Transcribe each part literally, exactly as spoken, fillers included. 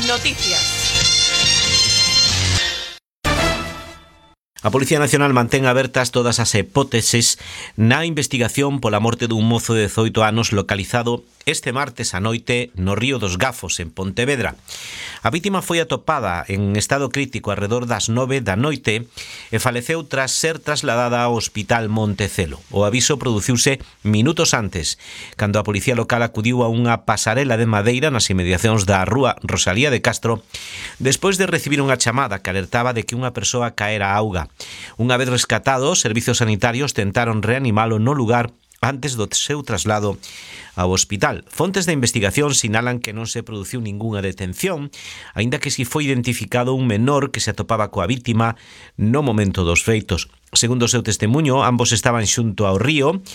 Noticias. A Policía Nacional mantén abertas todas as hipóteses na investigación pola morte dun mozo de dezoito anos localizado este martes á noite no Río dos Gafos, en Pontevedra. A vítima foi atopada en estado crítico arredor das nove da noite e faleceu tras ser trasladada ao Hospital Montecelo. O aviso produciuse minutos antes, cando a Policía Local acudiu a unha pasarela de madeira nas inmediacións da rúa Rosalía de Castro despois de recibir unha chamada que alertaba de que unha persoa caera á auga. Unha vez rescatado, os servizos sanitarios tentaron reanimalo no lugar antes do seu traslado ao hospital. Fontes de investigación sinalan que non se produciu ningunha detención, aínda que si foi identificado un menor que se atopaba coa vítima no momento dos feitos. Segundo o seu testemunho, ambos estaban xunto ao río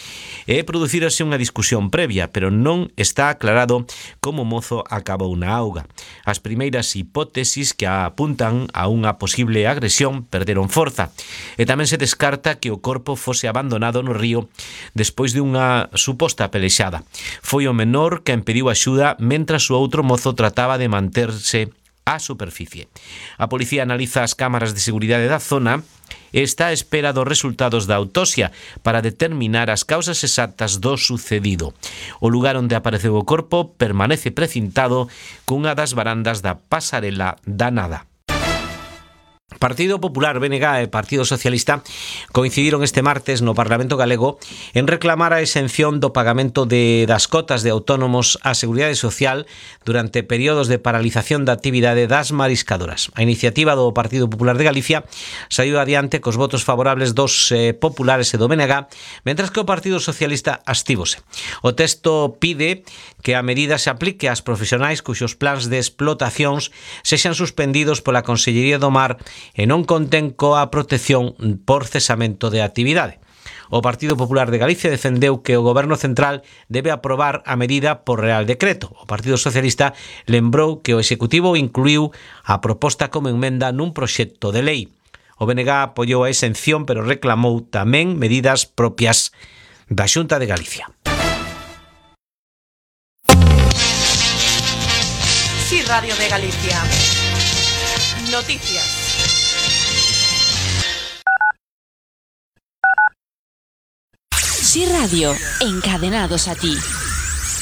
e producírase unha discusión previa, pero non está aclarado como o mozo acabou na auga. As primeiras hipótesis que apuntan a unha posible agresión perderon forza e tamén se descarta que o corpo fose abandonado no río despois de unha suposta pelexada. Foi o menor quen pediu axuda mentras o outro mozo trataba de manterse á superficie. A policía analiza as cámaras de seguridade da zona e está á espera dos resultados da autopsia para determinar as causas exactas do sucedido. O lugar onde apareceu o corpo permanece precintado cunha das varandas da pasarela da Nada. Partido Popular, B N G e Partido Socialista coincidiron este martes no Parlamento Galego en reclamar a exención do pagamento de, das cotas de autónomos á Seguridade Social durante períodos de paralización da actividade das mariscadoras. A iniciativa do Partido Popular de Galicia saiu adiante cos votos favorables dos eh, populares e do B N G, mentras que o Partido Socialista abstívose. O texto pide que a medida se aplique ás profesionais cuxos plans de explotacións sexan suspendidos pola Consellería do Mar e non contén coa protección por cesamento de actividade. O Partido Popular de Galicia defendeu que o Goberno Central debe aprobar a medida por Real Decreto. O Partido Socialista lembrou que o Executivo incluiu a proposta como emenda nun proxecto de lei. O B N G apoiou a exención, pero reclamou tamén medidas propias da Xunta de Galicia. Sí, Radio de Galicia. Noticias. Sí Radio, encadenados a ti.